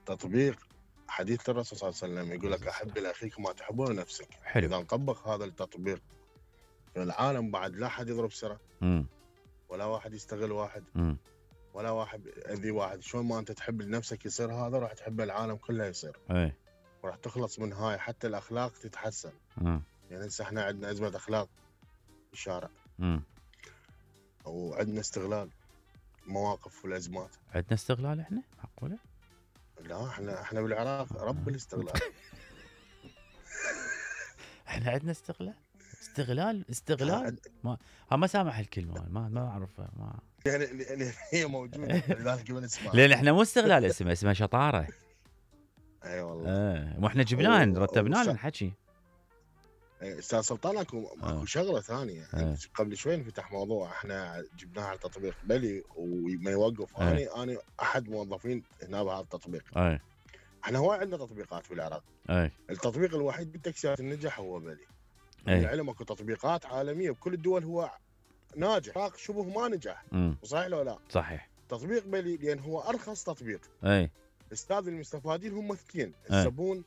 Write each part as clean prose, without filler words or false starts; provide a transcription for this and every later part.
التطبيق حديث الرسول صلى الله عليه وسلم يقول لك احب لاخيك ما تحبه لنفسك. حلو. اذا نطبق هذا التطبيق في العالم بعد لا حد يضرب سره ولا واحد يستغل واحد ولا واحد يأذي واحد. شلون ما انت تحب لنفسك يصير هذا راح تحب العالم كله يصير. اي وراح تخلص من هاي حتى الاخلاق تتحسن. يعني هسه احنا عندنا ازمه اخلاق في الشارع. وعندنا استغلال المواقف والازمات. عندنا استغلال احنا؟ معقوله؟ لا احنا بالعراق رب الاستغلال. احنا عندنا استغلال ما سامح الكلمه ما اعرفها ما يعني هي موجوده لذلك ما نسمعها. لان احنا مو استغلال اسمها شطاره. اي والله. مو احنا جبناه رتبناه الحكي. استاذ سلطان اكو شغله ثانيه. قبل شوي انفتح موضوع احنا جبناه على التطبيق بلي وما يوقف. انا احد موظفين هنا بهذا التطبيق. احنا هواي عندنا تطبيقات في العراق. التطبيق الوحيد بالتاكسيات النجح هو بلي. العلم اكو تطبيقات عالميه بكل الدول هو ناجح. شبه ما نجح. صحيح لو لا؟ صحيح. تطبيق بلي لان هو ارخص تطبيق. استاذ المستفادين هم اثنين، الزبون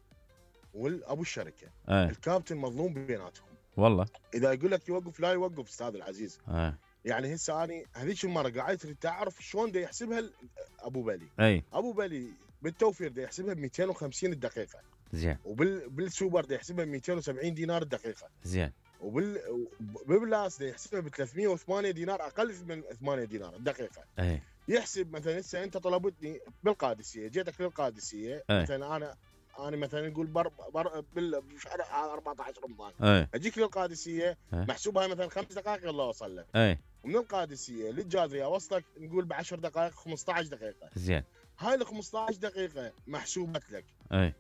والابو الشركه. الكابتن مظلوم بيناتهم والله. اذا يقول لك يوقف لا يوقف استاذ العزيز. يعني هسه اني هذيك المره قاعد تعرف شلون دا يحسبها ابو بلي. ابو بلي بالتوفير دا يحسبها ب 250 الدقيقه. زين. وبالسوبر دا يحسبها ب 270 دينار الدقيقه. زين. وبالبلاس دا يحسبها ب 308 دينار اقل من 8 دينار الدقيقه. يحسب مثلا هسه انت طلبتني بالقادسيه، جيتك للقادسيه. مثلا انا مثلا نقول بشهر 14 رمضان. اجيك للقادسيه محسوبها مثلا 5 دقائق يلا اوصل لك. ومن القادسيه للجاذريه اوصلك نقول ب10 دقائق 15 دقيقه. زين. هاي ال 15 دقيقه محسوبت لك.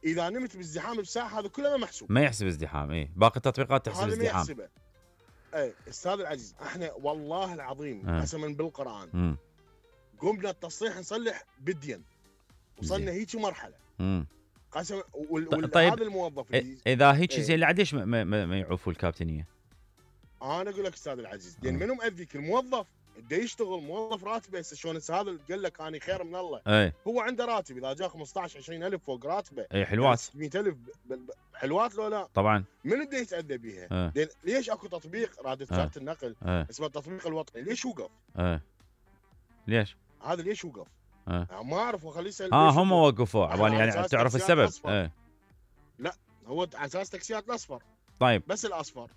اذا نمت بالزحام بساعه هذا كله ما محسوب. ما يحسب ازدحام. باقي التطبيقات تحسب ازدحام. هذا ما يحسبه. استاذ العزيز احنا والله العظيم قسما بالقران قمنا التصليح نصلح بديا. وصلنا هيك مرحله. قسم طيب هذا الموظف اذا هيك زين ليش ما يعوفوا الكابتنيه؟ انا اقول لك استاذ العزيز لان منو مأذيك الموظف بده يشتغل موظف راتبه. هسه شلون هذا قال لك انا خير من الله. هو عنده راتب اذا جاء 15 20000 فوق راتبه. حلوات 600000 حلوات لو لا؟ طبعا. من بده يتأذى بيها؟ ليش اكو تطبيق رادة وزارة النقل اسمه التطبيق الوطني ليش وقف؟ ليش؟ هذا ليش وقف؟ ما اعرف وخليه يسال. هم وقفوه عبالي يعني تعرف السبب. لا هو على اساس تاكسيات الاصفر. طيب بس الاصفر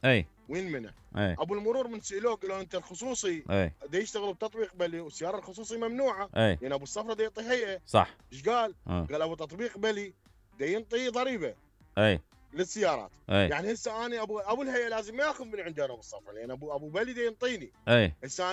وين منع؟ ابو المرور من سالوه قالوا انت الخصوصي دا يشتغلوا بتطبيق بلي والسياره الخصوصي ممنوعه. يعني ابو الصفرة دا يعطي هيئه. صح. ايش قال؟ قال ابو تطبيق بلي دا ينطي ضريبه للسيارات. يعني هسه انا ابو الهيئه لازم ما ياخذ من عندي انا ابو الصفرة لان ابو بلي دا ينطيني. هسه